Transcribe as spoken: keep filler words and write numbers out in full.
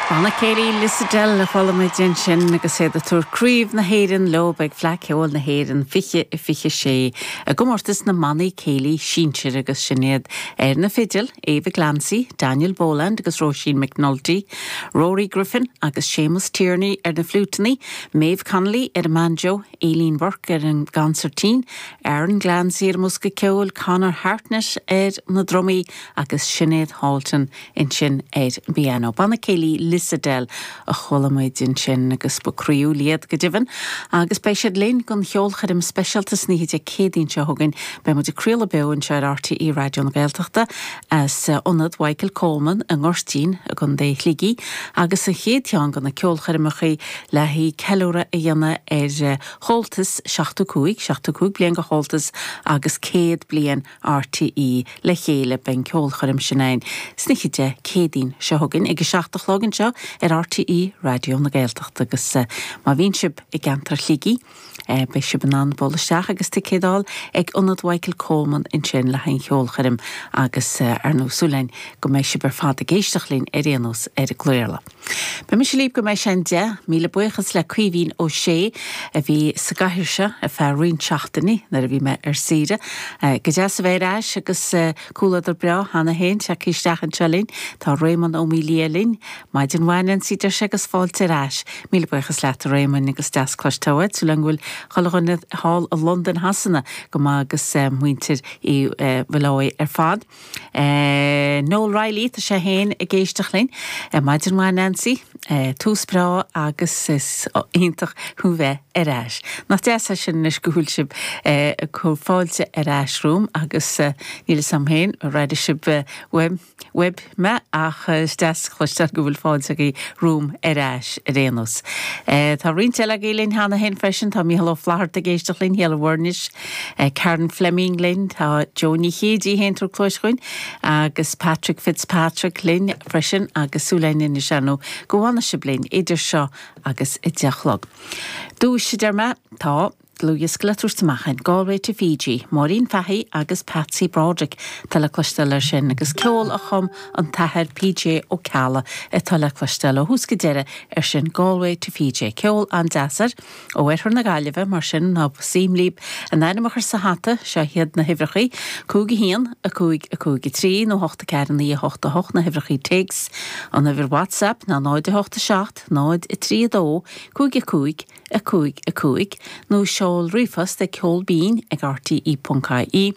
Banna Céilí Lissadell a chuala muid ansin agus iad ag tabhairt Craobh na hÉireann leo ag Fleadh Cheoil na hÉireann fiche a fiche sé i gcomórtas na mbannaí céilí sinsir agus sin iad ar na fidil, Ava Glancy, Daniel Boland agus Róisín McNulty, Rory Griffin agus Seamus Tierney ar na fliúiteanna, Maeve Connolly ar an mbanjo, Aileen Burke ar an gconsairtín, Aaron Glancy ar an mbosca ceoil, Conor Hartnett ar na drumaí agus Sinéad Halton ansin ar an bpianó. Banna Céilí Lissadell a chuala muid ansin agus ba chroíúil iad go deimhin, agus beidh siad linn don cheolchoirm speisialta san oíche Dé Céadaoin seo chugainn, beidh muid ag craoladh beo anseo ar RTÉ Raidió na Gaeltachta as ionad Michael Coleman i nGoirtín i gContae Shligigh agus an chéad cheann de na ceolchoirmeacha le haghaidh ceiliúradh a dhéanamh ar Chomhaltas seachtó cúig, seachtó cúig bliain de Chomhaltas agus céad bliain RTÉ le chéile beidh an ceolchoirm sin ann san oíche Dé Céadaoin seo chugainn ag a seacht a chlog anseo ar RTÉ Raidió na Gaeltachta agus má bhíonn sibh i gceantar Shligigh. Beidh sibh in ann dul isteach agus ticéad a fháil ag ionad Michael Coleman ansin le haghaidh an cheolchoirm agus ar nós súil againn go mbeidh sibh ar fad ag éisteacht linn ar aon nós ar an gcraoladh. Beidh mise libh go mbeidh sé an deich míle buíochas le Caoimhín Ó Sé a bhí sa gcathaoir seo ar feadh roinnt seachtainí nuair a bhí mé ar saoire. Go deas a bheith ar ais agus comhluadar breá cheana féin tagtha isteach anseo linn, Tá Réamonn Ó Maolaodha linn, Maidin mhaith Nancy deir sé agus fáilte ar ais. Míle buíochas leat a Réamoinn agus deas cloisteáil uait súil agam go bhfuil chuile dhuine thall i Londain Shasana go maith agus muintir Uí Mhaolaodha ar fad. Noel Riley tá sé féin ag éisteacht linn. Maidin mhaith Nancy, tús breá agus is iontach thú bheith ar ais. Nach deas é sin anois go bhfuil sibh ag cur fáilte ar ais romham agus níl a fhios agam féin raibh sibh uaim uaibh mé ach is deas cloisteáil go bhfuil fáilte agaibh romham ar ais ar aon nós. Tá roinnt eile agaibh linn cheana féin freisin, tá Mícheál Ó Flatharta ag éisteacht linn thiar i bhFoirnis, Karen Fleming linn, tá Joe Ní Chéide féin ag tabhairt cluas chugainn agus Patrick Fitzpatrick linn freisin agus súil againn anois ar ndóigh go bhfanfaidh sibh linn idir seo agus a deich a chlog. Duais a deir mé tá dlúthdhiosca le tabhairt amach in Galway to Fiji, Maureen Fahy agus Patsy Broderick tá le cloisteáil air sin agus ceol a chum an t-athair PJ Ó Ceallaigh atá le cloisteáil ó thús go deireadh ar sin Galway to Fiji. Ceol an-deas air ó oirthear na Gaillimhe mar sin ná suim libh an ainm a chur sa hata seo iad na huimhreacha, cúig a haon, a cúig, a cúig a trí nó hocht a ceathair a naoi a hocht a hocht na huimhreacha téacs, an uimhir WhatsApp ná náid a hocht a seacht, náid a trí a dó, cúig a cúig, a cúig a cúig nó seol ríomhphost ag ceolbinn ag rte.ie.